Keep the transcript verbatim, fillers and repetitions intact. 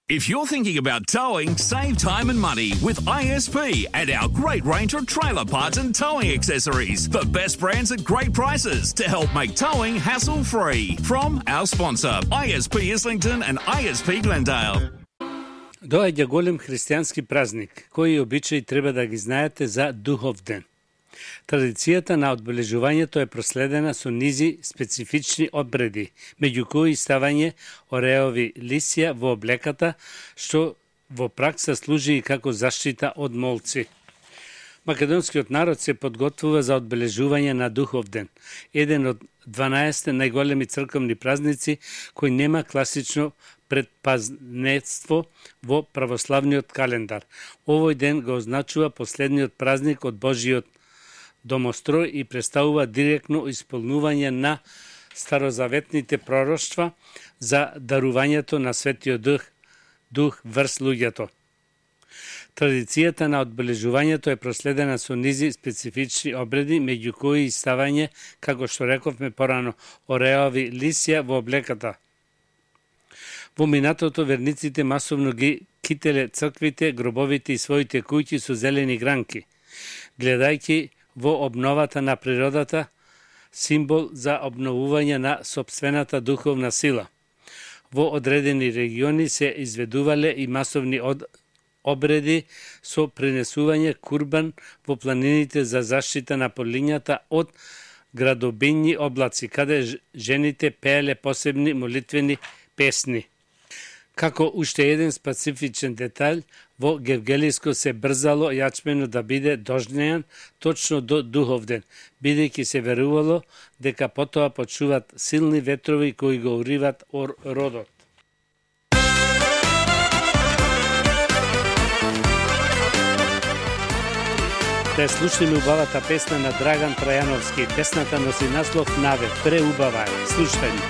If you're thinking about towing, save time and money with I S P and our great range of trailer parts and towing accessories. The best brands at great prices to help make towing hassle-free. From our sponsor, I S P Islington and I S P Glendale. Доаѓа голем христијански празник, кои обичаи треба да ги знаете за Духовден. Традицијата на одбележувањето е проследена со низи специфични обреди, меѓу кои ставање ореови лисја во облеката, што во пракса служи и како заштита од молци. Македонскиот народ се подготвува за одбележување на Духовден, еден од дванаесет најголеми црковни празници кој нема класично предпазнетство во православниот календар. Овој ден го означува последниот празник од Божиот домострој и представува директно исполнување на старозаветните пророштва за дарувањето на Светиот Дух, дух врз луѓето. Традицијата на одбележувањето е проследена со низи специфични обреди, меѓу кои и ставање, како што рековме порано, ореови лисја во облеката. Во минатото верниците масовно ги кителе црквите, гробовите и своите куќи со зелени гранки, гледајќи во обновата на природата, символ за обновување на сопствената духовна сила. Во одредени региони се изведувале и масовни од обреди со принесување курбан во планините за заштита на полињата од градобинји облаци, каде жените пееле посебни молитвени песни. Како уште еден специфичен детаљ, во Гевгелиско се брзало јачмено да биде дожнеан точно до Духовден, бидејќи се верувало дека потоа почуват силни ветрови кои го уриват родот. Да слушнеме убавата песна на Драган Трајановски. Песната носи наслов Наве. Преубава е. Слушајме.